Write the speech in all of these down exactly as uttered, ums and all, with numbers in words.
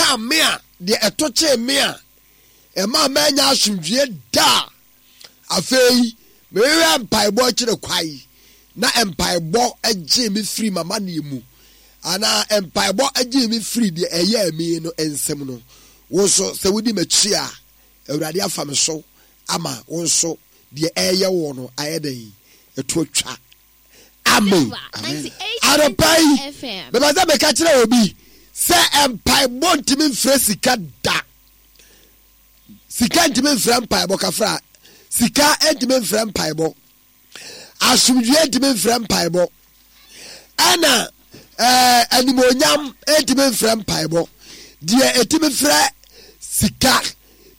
ɛkaa me a, deɛ ɛto kyee me a, ɛma manya asomdwie da a, afei mehwehwɛ mpaebɔ akyire kwae, na mpaebɔ gyee me firi m'amanneɛ mu, anaa mpaebɔ gyee me firi deɛ ɛyɛɛ me no nsam no, wo nso sɛ wodi m'akyi a, Awurade afa me so ama wo nso deɛ ɛyɛ wɔ no ayɛ dɛn, ɛto atwa. Amen. Anɔpa yi mepɛ sɛ meka kyerɛ obi sɛ mpaebɔ ntumi mfrɛ sika da. Sika ntumi mfrɛ mpaebɔ kafra. Sika ntumi mfrɛ mpaebɔ. Asomdwie ntumi mfrɛ mpaebɔ. Ɛna ɛɛ animonyam ntumi mfrɛ mpaebɔ. Deɛ ɛtumi frɛ sika,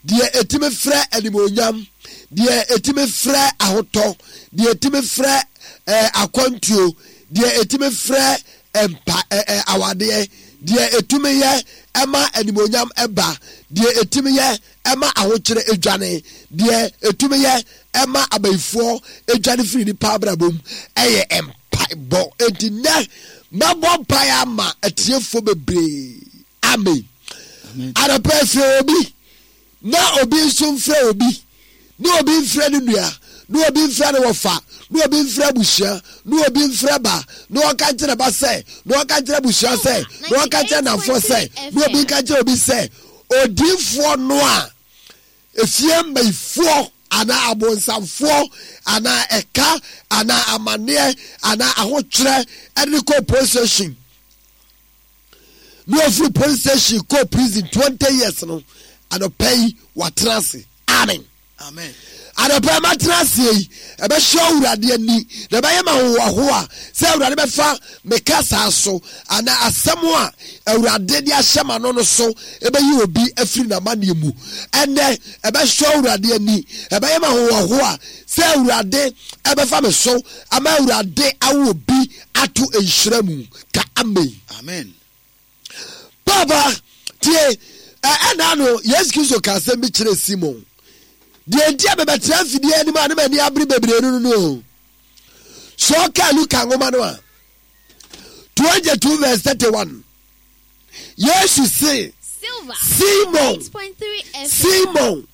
deɛ ɛtumi frɛ animonyam, deɛ ɛtumi frɛ ahotɔ, deɛ ɛtumi frɛ ɛɛ akwantuo, deɛ ɛtumi frɛ mpa ɛɛ awadeɛ, deɛ ɛtumi yɛ ɛma animonyam ɛba, deɛ ɛtumi yɛ ɛma ahokyerɛ edwane, deɛ ɛtumi yɛ ɛma abayifoɔ edwane firi nipa abrabɔ mu ɛyɛ mpaebɔ. Enti nnɛ mɛbɔ mpaeɛ ama atiefoɔ bebree. Amen. Anɔpa efiri obi na obi nso mfrɛ obi, na obi mfrɛ ne nua, na obi mfrɛ ne wɔfa, na obi mfrɛ abusua, na obi mfrɛ ba, na ɔka nkyerɛ ba sɛ, na ɔka nkyerɛ abusua sɛ, na ɔka nkyerɛ namfoɔ sɛ, na obi nka nkyerɛ obi sɛ, odiifoɔ no a efie mmayifoɔ anaa abonsamfoɔ anaa ɛka anaa amanneɛ anaa ahokyerɛ ɛde kɔ police station, na ofiri police station kɔ prison twenty years no, anɔpa yi watena ase. Amen. Amen. Anɔpa yi matena ase yi, ɛbɛhyɛ Awurade ani na ɛbɛyɛ ma ahohoahoa sɛ Awurade bɛfa me kasa so anaa asɛm a Awurade de ahyɛ ma no no so ɛbɛyi obi afiri n'amanneɛ mu. Ɛnɛ ɛbɛhyɛ Awurade ani, ɛbɛyɛ ma ahohoahoa sɛ Awurade ɛbɛfa me so ama Awurade awo obi ato nhyira mu. Ka amen. Amen. Papa tie, ɛna no Yesu Kristo ka asɛm bi kyerɛ Simon. Deɛ nti a mebɛtena mfidie anim a ne m'ani abere bebree no no no. So ɔka Luka nwoma no a twenty-two verse thirty-one, Yesu se Simon, Simon,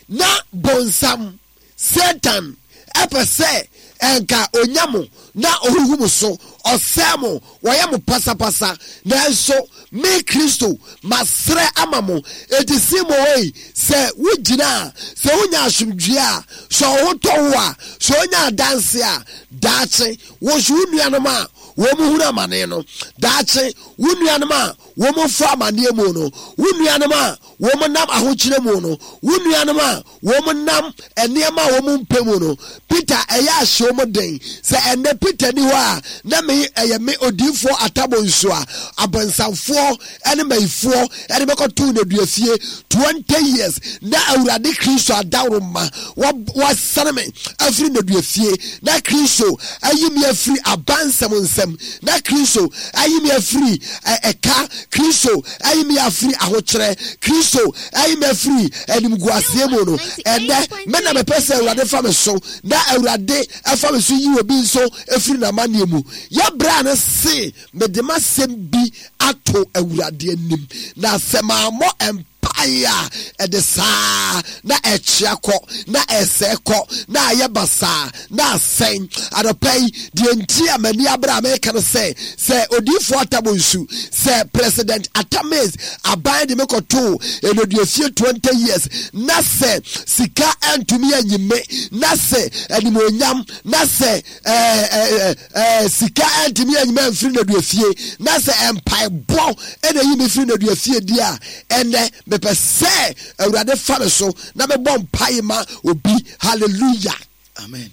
na bonsam Satan ɛpɛ sɛ ɛnka onya mo na ohuhu mo so, ɔsɛe mo, wɔyɛ mo pasapasa, nanso me Kristo masrɛ ama mo. Enti Simon oi, sɛ wogyina a, sɛ wonya asomdwie a, sɛ ɔho tɔ wo a, sɛ wonya adanse a, daakye wo nso wo nuanom a wɔn mu hunu amane no, daakye wo nuanom a wɔn mu fa amaneɛ mu no, wo nuanom a wɔn nam ahokyerɛ mu no, wo nuanom a wɔn nam nneɛma a wɔn mpɛ mu no, Peter ɛyɛ ahyɛ wɔn den. Sɛ ɛnɛ Peter ni hɔ a, na me ɛyɛ me odiifoɔ atabo nso a abonsamfoɔ ɛne mayifoɔ ɛne bɛkɔto nneduafie twenty years, na Awurade Kristo adaworo ma wasane me afiri nneduafie, na Kristo ayi me afiri abansɛm nsɛm, na Kristo ayi me afiri ɛka, Kristo ayi me afiri ahokyerɛ, Kristo ayi me afiri animguaseɛ mu no. Ɛnɛ me na mepɛ sɛ Awurade fa me so, na Awurade ɛfa me so yi obi nso afiri n'amanneɛ mu. Yɛbrɛ no se mede m'asɛm bi ato Awurade anim, na sɛ mammɔ mpaeɛ a ɛde saa na ɛkyea kɔ, na ɛsɛe kɔ, na ayɛ basaa, na asɛn. Anɔpa yi deɛ nti a m'ani abere a meka no sɛ, sɛ odiifoɔ Atabo Nsu, sɛ President Atames aban de me kɔtoo nneduafie twenty years, na sɛ sika antumi anyi me, na sɛ animuonyam, na sɛ ɛɛ ɛɛ ɛɛ sika antumi anyi me amfiri nneduafie, na sɛ mpaebɔ ɛna yi me firi nneduafie di a, ɛnɛ mepɛ sɛ Awurade fa me so na mebɔ mpae ma obi. Hallelujah. Amen.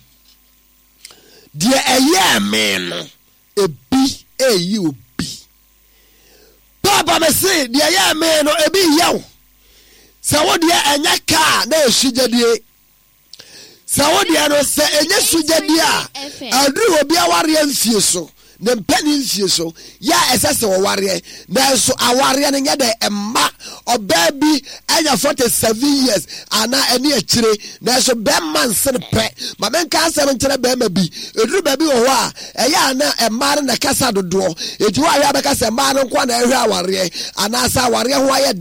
Deɛ ɛyɛɛ me no, ebi ɛyi obi. Papa me se deɛ ɛyɛɛ me no, ebi yɛ wo. Sɛ wo deɛ ɛnyɛ kaa na ɛsu gyadie. Sɛ wo deɛ no sɛ ɛnyɛ su gyadie a, aduru obi awareɛ mfie so, ne mpani mfie so, yɛ a ɛsɛ sɛ wɔwareɛ. Nanso awareɛ no nyɛ dɛ ɛmma ɔbaa bi anya forty-seven years anaa ɛne akyire, nanso bɛrima nsene pɛ. Ma menka asɛm nkyerɛ bɛrima bi. Ɛduru baabi wɔ hɔ a, ɛyɛ a na mmaa no na ɛkasa dodoɔ. Enti hɔ a yɛ a bɛka sɛ mmaa no nko na ɛhwɛ awareɛ, anaasɛ awareɛ ho ayɛ